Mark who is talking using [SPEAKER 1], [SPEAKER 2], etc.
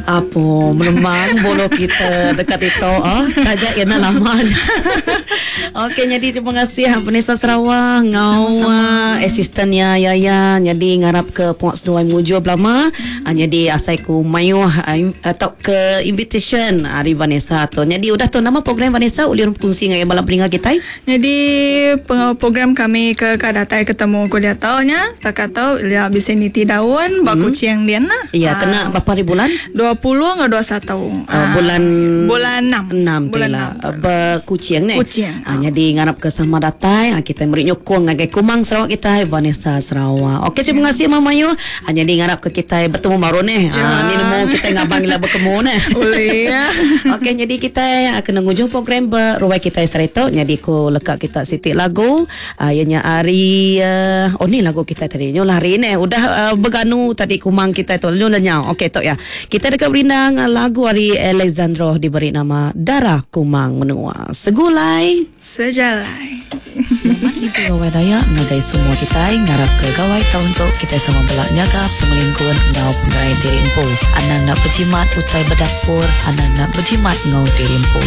[SPEAKER 1] Apo melemang bulu kita dekat itu oh taja iya enda lama aja. Okey nyadi terima kasih Vanessa Sarawak ngau assistant iya Yaya nyadi ngarap ke pengawa seduai mujur belama nyadi asai ku mayuh tauka invitation ari Vanessa tu. Nyadi udah tu nama program Vanessa ulih bekunsi ngagai bala peninga kitai?
[SPEAKER 2] Nyadi program kami ke ka datai ketemu ku diatu nya setakat tu ila bisi niti daun ba Kuching din lah.
[SPEAKER 1] Iya kena berapa hari bulan?
[SPEAKER 2] 20 enggau 21.
[SPEAKER 1] Bulan
[SPEAKER 2] bulan enam.
[SPEAKER 1] Enam tu ila ba Kuching neh.
[SPEAKER 2] Kuching.
[SPEAKER 1] Nyadi ngarap ke sama datai kitai meri nyukung ngagai Kumang Sarawak kitai Vanessa Sarawak. Okey terima kasih mah mayuh. Nyadi ngarap ke kitai betemu baru neh. Ni nemu kitai ngabang ila bekemu neh.
[SPEAKER 2] Ulih.
[SPEAKER 1] Okey nyadi kitai kena ngujung program ba ruai kitai sehari tu nyadi ku leka kita siti lagu iya nya ari oh ni lagu kitai tadi nyu lari neh udah beganu tadi kumang kitai tu nyu lenyau. Okey tu iya. Kitai deka berindang lagu ari Alexandro diberi nama Dara Kumang Menua. Segulai.
[SPEAKER 2] Sejalai.
[SPEAKER 1] Selamat ngintu Gawai Dayak ngagai semua kitai ngarapka gawai taun tu kitai sama bela nyaga pengelingkun enggau pengerai diri empu. Anang enda bejimat utai ba dapur, anang enda bejimat enggau diri empu.